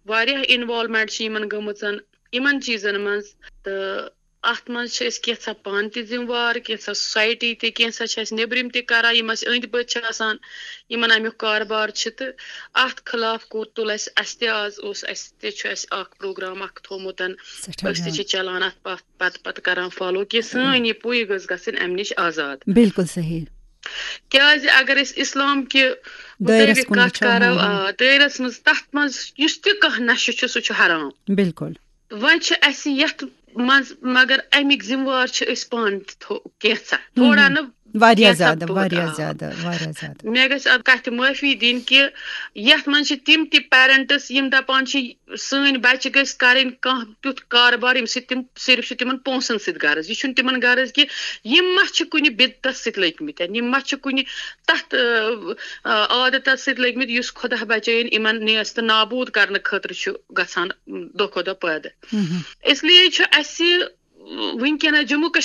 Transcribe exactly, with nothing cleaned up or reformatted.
واریاہ انوالومنٹ چھِ یِمن گٔمٕژن یِمن چیٖزن منٛز۔ تہٕ اتھ منٛز چھِ أسۍ کینٛژھا پانہٕ تہِ ذمہٕ وار، کینٛژھا سوسایٹی تہِ، کینٛژھا چھِ اَسہِ نیٚبرِم تہِ کران، یِم اَسہِ أنٛدۍ پٔتۍ چھِ آسان، یِمن اَمیُک کاربار چھِ۔ تہٕ اتھ خلاف کوٚر تُل اَسہِ، اَسہِ تہِ آز اوس، اَسہِ تہِ چھُ اَسہِ اکھ پروگرام اکھ تھوٚومُت، سٮ۪ٹھاہ أسۍ تہِ جان۔ چھِ چلاوان اتھ پتھ پتہٕ پتہٕ کران فالو کہِ سٲنۍ یہِ پُے گٔژھ گژھٕنۍ امہِ نِش آزاد۔ بالکل صحیح۔ کیازِ اگر أسۍ اسلام کہِ دٲیرس مُطٲبِق کُن کتھ وٕچھو، کرو، ہاں، ہاں۔ آ، دٲیرس منٛز، تتھ منٛز یُس تہِ کانٛہہ نشہٕ چھُ، سُہ چھُ حرام۔ بالکل۔ وۄنۍ چھِ اسہِ یتھ منٛز، مگر امیِکۍ ذمہٕ وار چھِ أسۍ پانہٕ تہِ تھو-، کینٛژھا، تھوڑا نہٕ واریاہ کینٛژھا زیادٕ، توتہِ، واریاہ آ۔ زیادٕ، واریاہ زیادٕ۔ مےٚ گژھِ اتھ کتھِ معٲفی دِنۍ کہِ یتھ منٛز چھِ تِم تہِ پیرنٹس یِم دپان چھِ، سٲنۍ بچہِ گٔژھۍ کرٕنۍ کانٛہہ تیُتھ کاربار، ییٚمہِ سۭتۍ تِم صرف چھِ تِمن پونٛسن سۭتۍ غرض۔ یہِ چھُنہٕ تِمن غرض کہِ یِم ما چھِ کُنہِ بدعتس سۭتۍ لٔگۍ مٕتۍ، یِم ما چھِ کُنہِ تتھ، آ، آ، عادتس سۭتۍ لٔگۍ مٕتۍ یُس خۄدا بچٲیِن یِمن نیست نابود کرنہٕ خٲطرٕ چھُ گژھان دۄہ کھۄتہٕ دۄہ پٲدٕ۔ مہم۔ اس لیے چھُ اسہِ وٕنکیٚنس جموں کشمیر